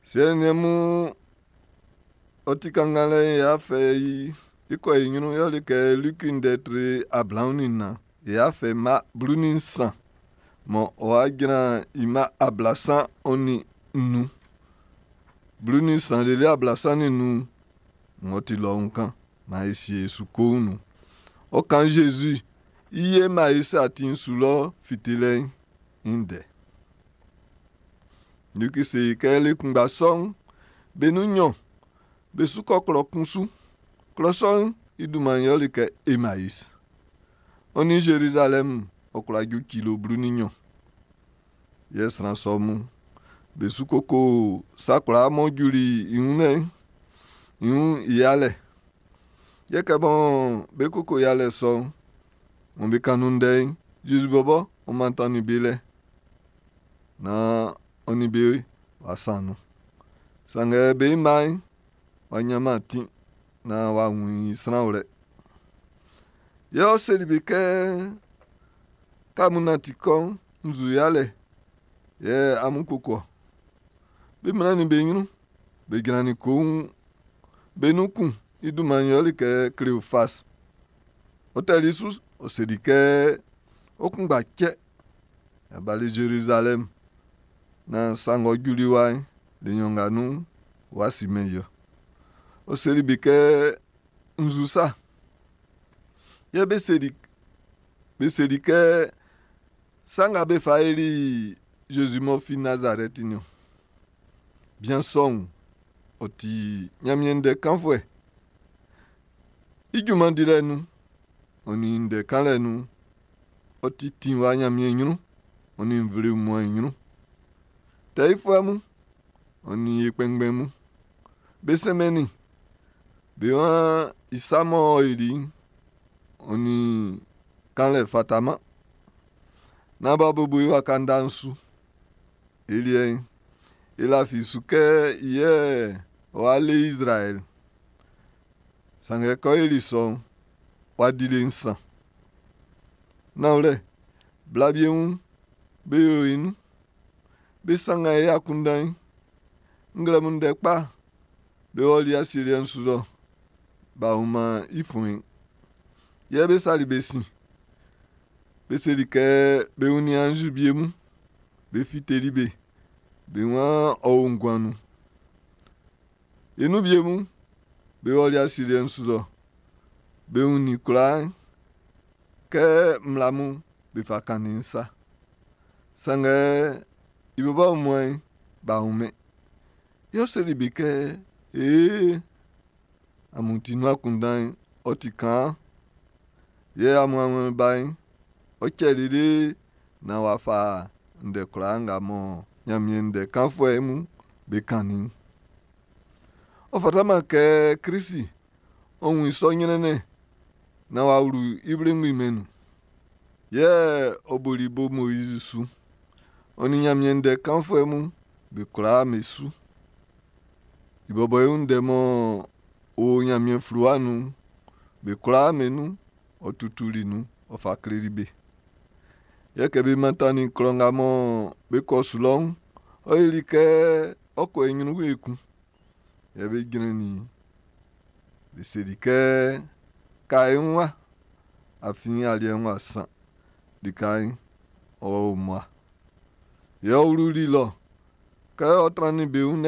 Siɛ nin niɛn mun, ɔ ti kannganlɛ'n yɛ a fɛ i e kɔ e ɲrun yɛle kɛ Liki ndɛ tre 24 yɛ a fɛ mma 13 mɔ ɔ wá jran i mma 35, 13 lele 35 ng'ɔ ti lɔun kan maan e sie e su koun nun. Ɔ kan Zezi i Emaisi atin'n su lɔ fitelɛ'n i ndɛ. Liki se kɛ le kunngba sɔ'n, be nun nɲɔn be su kɔ klɔ kun su. Klɔ sɔ'n i dunman'n yɛle kɛ Emaisi. Ɔ nin Zerizalɛmu ɔ kwla ju kilo 12. Yɛ sran sɔ mun be su koko sa kwlaa m'ɔ juli i wun lɛ'n, i wun i yalɛ. Yɛ kɛ mɔ be koko yalɛ sɔ'n, mɔ be kan nun ndɛ'n, Zezi bɔbɔ ɔ mantannin be lɛ naan ɔ nin be w'a san nun. Sanngɛ be mma'n w'a ɲanman atin naan w'a wun i sran wlɛ. Yɛ ɔ seli be kɛ, kɛ amun nanti kɔ́ʼn, nzu yalɛ yɛ amun koko ɔ. Be mlannin be ɲrun, be jrannin koun. Be nun kun i dunman'n yɛle kɛ Kleofas. Ɔ tɛli su, ɔ seli kɛ, ɔ kunngba cɛ, a bali Zerizalɛm naan sa ng'ɔ juli wa'n, le nɲɔn nga nun'n, w'a simɛn i ɔ. Ɔ seli be kɛ, nzu sa. Yɛ be seli kɛ, sa nga be fa yoli Zezi m'ɔ fin Nazarɛti'n niɔn. Bian sɔ'n, ɔ ti Ɲanmiɛn ndɛ kanfuɛ. I junman dilɛ nun'n, ɔ nin ndɛ kanlɛ nun'n, ɔ ti tinwa Ɲanmiɛn ɲrun, ɔ nin nvle wunmuan'n i ɲrun. Tɛ yifuɛ mun, ɔ nin e kpɛnngbɛn mun, be sɛnmɛnnin i. Be waan i sa m'ɔ yoli'n, ɔ nin kanlɛ fataman. Naan b'a bobo i waka nda'n su. E liɛ'n, e lafi su kɛ i yɛ ɔ wá lé Izraɛl. Sanngɛ kɛ ɔ yoli sɔ'n, w'a di le nsan. Nanwlɛ, bla wie mun be o e nun. Be sanngan e akunndan'n. Nglɛmun ndɛ kpa, be ɔli asieliɛ'n su lɔ. B'a wunman i fuɛn'n. Yɛ be sali be sin. Be seli kɛ be wunnin anzi wie mun. Be fiteli be. Be waan ɔ o nguan nun. E nun wie mun, be ɔli asieliɛ'n su lɔ. Be wunnin kwlaa'n kɛ mmla mun be fa kannin'n sa. Sanngɛ i bɔbɔ wunmuan'n, b'a wunmɛn. Yɛ ɔ seli be kɛ, ee, amun ti nun akunndan'n, ɔ ti kaan. Yɛ amun awlɛn ba'n, ɔ cɛ lele naan w'a fa ndɛ kwlaa nga mɔ Ɲanmiɛn ndɛ kanfuɛ mun be kannin'n. Ɔ fataman kɛ Klisi ɔ wun i sɔ ɲrɛnnɛn naan w'a wlu i wlengbi mɛn'n nun. Yɛ ɔ boli bo Moizi su, ɔ nin Ɲanmiɛn ndɛ kanfuɛ mun be kwlaa be su. I bɔbɔ i wun ndɛ m'ɔ o Ɲanmiɛn fluwa nun'n, be kwlaa be nun, ɔ tutuli nun, ɔ fa kleli be. Yɛ kɛ be mantannin klɔ nga mɔ be kɔ su lɔ'n, ɔ yoli kɛ ɔ kɔ i ɲrun ekun. Yɛ be jrɛnnin i. Be seli kɛ, ka e wun wa, afin aliɛ'n w'a san. Lika'n, ɔ o mmua. Yɛ ɔ wluli lɔ. Kɛ ɔ trannin be wun lɛ.